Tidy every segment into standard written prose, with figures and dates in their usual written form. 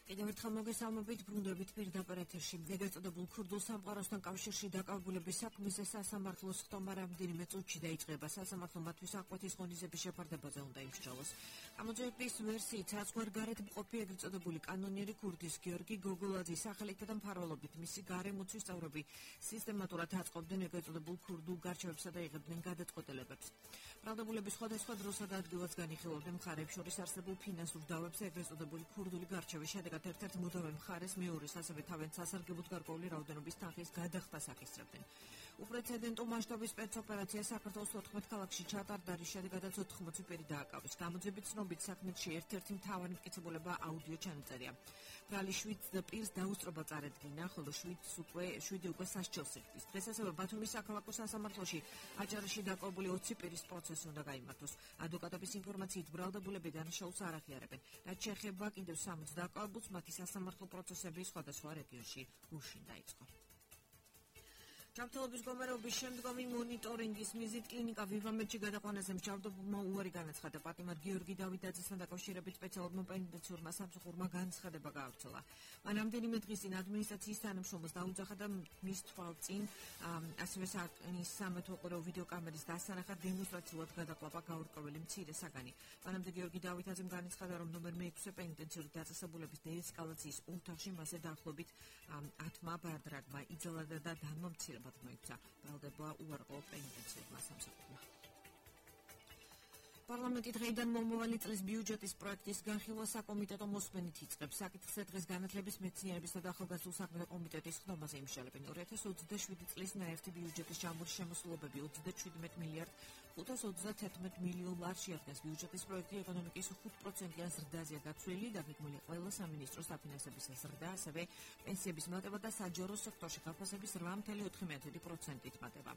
კიდევ ერთხელ მოგესალმებით, ბრუნდებით პირდაპირ ეთერში. ეგრეთ წოდებულ ქურდულ სამყაროსთან კავშირში დაკავებულების საქმეზე სასამართლოს ხტომა რამდენიმე წუთში დაიწყება. სასამართლო მათთვის აღკვეთის ღონისძიების შეფარდებაზე უნდა იმსჯელოს. გამოძიების ვერსიით საზღვარგარეთ მყოფი ეგრეთ წოდებული კანონიერი ქურდის გიორგი გოგოლაძის სახელითა და მფარველობით მისი გარემოცვის წევრები სისტემატურად აწყობდნენ ეგრეთ წოდებულ ქურდულ გარჩევებსა და იღებდნენ გადაწყვეტილებებს. ბრალდებულების სხვადასხვა დროსა და ადგილას განიხილავდნენ მხარეებს შორის არსებულ ფინანსურ დავებს ეგრეთ წოდებული ქურდული გარჩევის შედეგად ერთ-ერთ მუდმივ მხარეს მეორის ასევე თავიანთ სასარგებლოდ გარკვეული რაოდენობის თანხის გადახდას აკისრებდნენ. უპრეცედენტო მასშტაბის სპეცოპერაცია საქართველოს 14 ქალაქში ჩატარდა, რის შედეგადაც 80 პირი დააკავეს. გამოძიების ცნობით საქმეში ერთ-ერთი მთავარი მტკიცებულება აუდიო ჩანაწერია. ბრალი 7 პირს დაუსწრობა წარედგინა, ხოლო 7 უკვე სასჯელს იხდის. დღეს ასევე ბათუმის საქალაქო სასამართლოში აჭარაში დაკავებული 20 პირის პროცესი უნდა გაიმართოს. ადვოკატების ინფორმაციით ბრალდებულები დანაშაულს არ აღიარებენ. რაც შეეხება კიდევ 60 დაკავებულს, მათი სასამართლო პროცესები სხვადასხვა რეგიონში გუშინ დაიწყო. ჯანმრთელობის მდგომარეობის შემდგომი მონიტორინგის მიზნით კლინიკა ვივამედში გადაყვანაზე მსჯავრდებულმა უარი განაცხადა. პატიმარ გიორგი დავითაძესთან დაკავშირებით სპეციალურმა პენიტენციურმა სამსახურმა განცხადება გაავრცელა. მან რამდენიმე დღის წინ ადმინისტრაციის თანამშრომელს დაუძახა და მის თვალწინ ასევე საკნის სამეთვალყურო ვიდეოკამერის დასანახად დემონსტრაციულად გადაყლაპა გაურკვეველი მცირე საგანი. მანამდე გიორგი დავითაძემ განაცხადა, რომ ნომერ 6 პენიტენციური დაწესებულების დეესკალაციის ოთახში მასზე დაახლოებით 10 ბარდრაგმა იძალა და დამამცირებლა მოიქცა. ბრალდება უარყოფა პენიტენციურმა სამსახურმა. პარლამენტი დღეიდან მომავალი წლის ბიუჯეტის პროექტის განხილვა საკომიტეტო მოსმენით იწყებს. საკითხზე დღეს განათლების, მეცნიერებისა და ახალგაზრდულ საქმეთა კომიტეტის ხდომაზე იმსჯელებენ. 2027 წლის ნაერთი ბიუჯეტის ჟამური შემოსულობები 37 მილიარდ 531 მილიონ ლარს შეადგენს. ბიუჯეტის პროექტი ეკონომიკის 5%-იან ზრდაზეა გაცვლილი, დაგეგმილი ყველა სამინისტროს დაფინანსების ზრდა, ასევე პენსიების მატება და საჯარო სექტორში გაფასების 8.4%-ით მატება.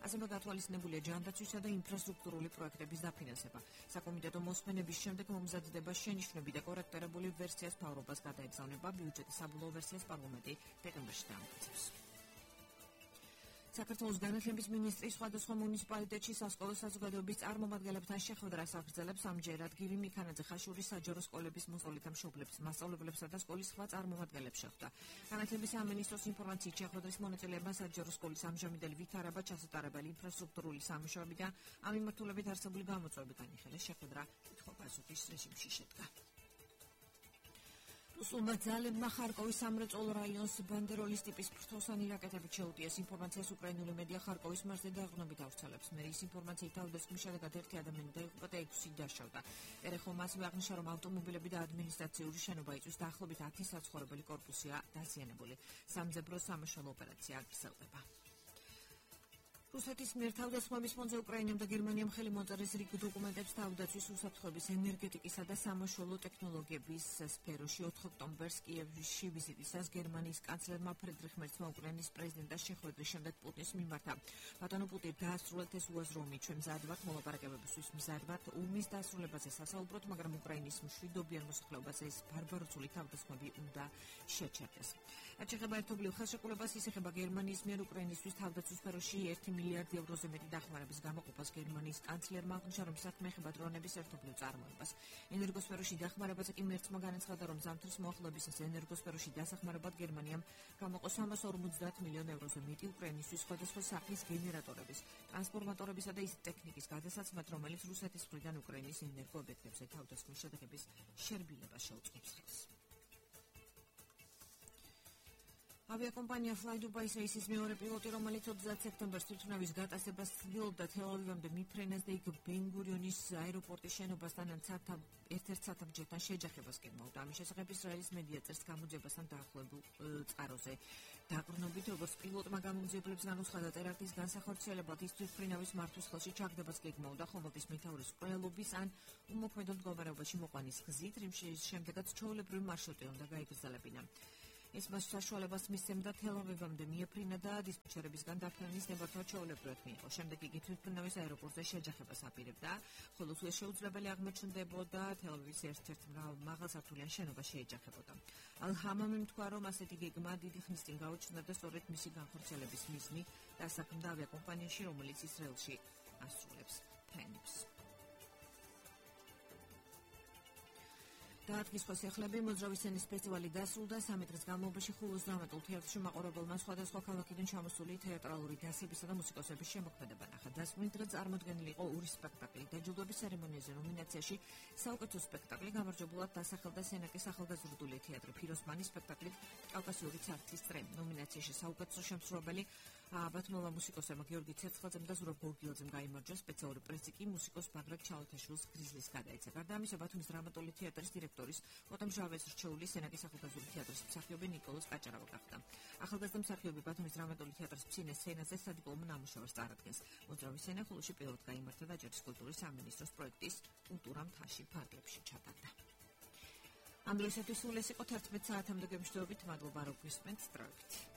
ასევე გათვალისწინებულია ჯანდაცვისა და ინფრასტრუქტურული პროექტების დაფინანსება. საკომიტეტო მოსმენების შემდეგ მომზადდება შენიშვნები და კორექტირებული ვერსიას მთავრობას გადაეგზავნება. ბიუჯეტის საბოლოო ვერსიას პარლამენტი დეკემბერში დაამტკიცებს. საქართველოს განათლების მინისტრი სხვადასხვა მუნიციპალიტეტში სასკოლო საზოგადოების წარმომადგენლებთან შეხვედრას აგრძელებს. ამჯერად გივი მიქანაძე ხაშურის საჯარო სკოლების მოსწავლეთა მშობლებს, მასწავლებლებსა და სკოლის სხვა წარმომადგენლებს შეხვდა. განათლების სამინისტროს ინფორმაციით შეხვედრის მონაწილეებმა საჯარო სკოლის ამჟამინდელი ვითარება, ჩასატარებელი ინფრასტრუქტურული სამუშაოები და ამ მიმართულებით არსებული გამოწვევები განიხილეს. შეხვედრა კითხვა-პასუხის რეჟიმში შედგა. რუსულმა ძალებმა ხარკოვის სამრეწველო რაიონს ბანდეროლის ტიპის ფრთოსანი რაკეტებით შეუტიეს. ინფორმაციას უკრაინული მედია ხარკოვის მარზე დაეღრუნებით ავრცელებს. მერის ინფორმაციით თავდასხმის შედეგად 1 ადამიანი დაიღუპა და 6 დაშავდა. ერეხომ ასევე აღნიშნა, რომ ავტომობილები და ადმინისტრაციული შენობა იწვის, დაახლოებით 10 საცხოვრებელი კორპუსია დაზიანებული. სამძებრო სამაშველო ოპერაცია აგრძელდება. რუსეთის მიერ თავდასხმების ფონზე უკრაინამ და გერმანიამ ხელი მოწერეს რიგ დოკუმენტებს თავდაცვის უსაფრთხოების, ენერგეტიკისა და სამაშველო ტექნოლოგიების სფეროში. 4 ოქტომბერს კიევში ვიზიტისას გერმანიის კანცლერმა ფრიდრიხ მერცმა უკრაინის პრეზიდენტთან შეხვედრის შემდეგ პუტინს მიმართა. ბატონო პუტინ, დაასრულეთ ეს უაზრომი, ჩვენ მზად ვართ მოლაპარაკებებისთვის, მზად ვართ ომის დასრულებაზე სასაუბროთ, მაგრამ უკრაინის მშვიდობიან მოსახლეობას ეს ბარბაროსული თავდასხმები უნდა შეჩერდეს. რაც შეეხება ერთობლივ ხელშეკრულებას, ის ეხება გერმანიის მიერ უკრაინისთვის თავდაცვის სფეროში 1 მილიარდი ევროზე მეტი დახმარების გამოყოფას. გერმანიის კანცლერმა აღნიშნა, რომ საქმე ეხება დრონების ერთობლივ წარმოებას. ენერგოსფეროში დახმარებაზე კი მერცმა განაცხადა, რომ ზამთრის მოახლოებისას ენერგოსფეროში დასახმარებლად გერმანიამ გამოყო 350 მილიონ ევროზე მეტი უკრაინისთვის სხვადასხვა სახის გენერატორების, ტრანსფორმატორებისა და ის ტექნიკის გადასაცემად, რომელიც რუსეთის მხრიდან უკრაინის ენერგოობიექტებზე თავდასხმის შედეგების შერბილებას შეუწყობს ხელს. ავიაკომპანია Fly Dubai Services მეორე პილოტი, რომელიც 30 სექტემბერს თვითმფრინავის გატაცებას ცდილობდა თელ-ავივამდე მიფრენას და იქ ბენ-გურიონის აეროპორტის შენობასთან ერთ-ერთ სათამბჯენთან შეჯახებას გეგმავდა. ამის შესახებ ისრაელის მედია წერს გამოძიებასთან დაახლოებულ წყაროზე. დაყრდნობით, როგორც პილოტმა გამოძიებლებს განუცხადა, ტერაქტის განსახორციელებლად ის თვითმფრინავის მართვის ხელში ჩაგდებას გეგმავდა ხომალდის მეთაურის ყრელობის ან უმოქმედო მდგომარეობაში მოყვანის გზით, რის შემდეგაც ჩვეულებრივი მარშრუტი უნდა გაიგრძელებინა. ეს მას საშუალებას მისცემდა თელ-ავივამდე მიეფრინა და დისპეჩერებისგან დაფრენის ნებართვა ჩვეულებრივად მიიღო. შემდეგ იგი თვითმფრინავის აეროპორტზე შეჯახებას აპირებდა, ხოლო თუ ეს შეუძლებელი აღმოჩნდებოდა, თელ-ავივის ერთ-ერთ მაღალსართულიან შენობას შეეჯახებოდა. ალ-ჰამამიმ თქვა, რომ ასეთი გეგმა დიდი ხნის წინ გაუჩნდა და სწორედ მისი განხორციელების მიზნი დასაქმდა ავიაკომპანიაში, რომელიც ისრაელში ასრულებს ფრენებს. დაადგის სახლები მოძრავი სცენის ფესტივალი დასრულდა 3 დღის განმავლობაში ხულოს დრამატულ თეატრში მაყურებელმა სხვადასხვა ქალაქიდან ჩამოსული თეატრალური დასებისა და მუსიკოსების შემოქმედება ნახა. დასკვნის დღე წარმოდგენილი იყო ორი სპექტაკლი. დაჯილდოების ცერემონიაზე ნომინაციაში საუკეთესო სპექტაკლი გამარჯვებულად დასახელდა სენაკის ახალგაზრდული თეატრი ფიროსმანის სპექტაკლი კავკასიური ცარცის წრე. ნომინაციაში საუკეთესო შემსრულებელი ბათუმელმა მუსიკოსებმა გიორგი ცერცხლაძემ და ზურაბ გორგილაძემ გაიმარჯვა. სპეციალური პრიზი კი მუსიკოს ბაგრატ ჩალათაშვილს გრიზლის გადაეცა. გარდა ამისა, ბათუმის დრამატული თეატრის დირექტორის ოთარ მჟავეს რჩეული სენაკის ახალგაზრდული თეატრის მსახიობი ნიკოლოზ კაჭარავა გახდა. ახალგაზრდა მსახიობი ბათუმის დრამატული თეატრის ფცინეს სცენაზე სადიპლომო ნამუშევარს წარადგენს. მოძრავი სცენა ხულოში პირველად გაიმართა და ჯაჭვის კულტურის სამინისტროს პროექტის კულტურა მთაში ფარგლებში ჩატარდა. ამ დღესათვის სულ ეს იყო 11 საათამდე გემშვიდობით. მადლობა რომ გვისმენთ. სწრაფით.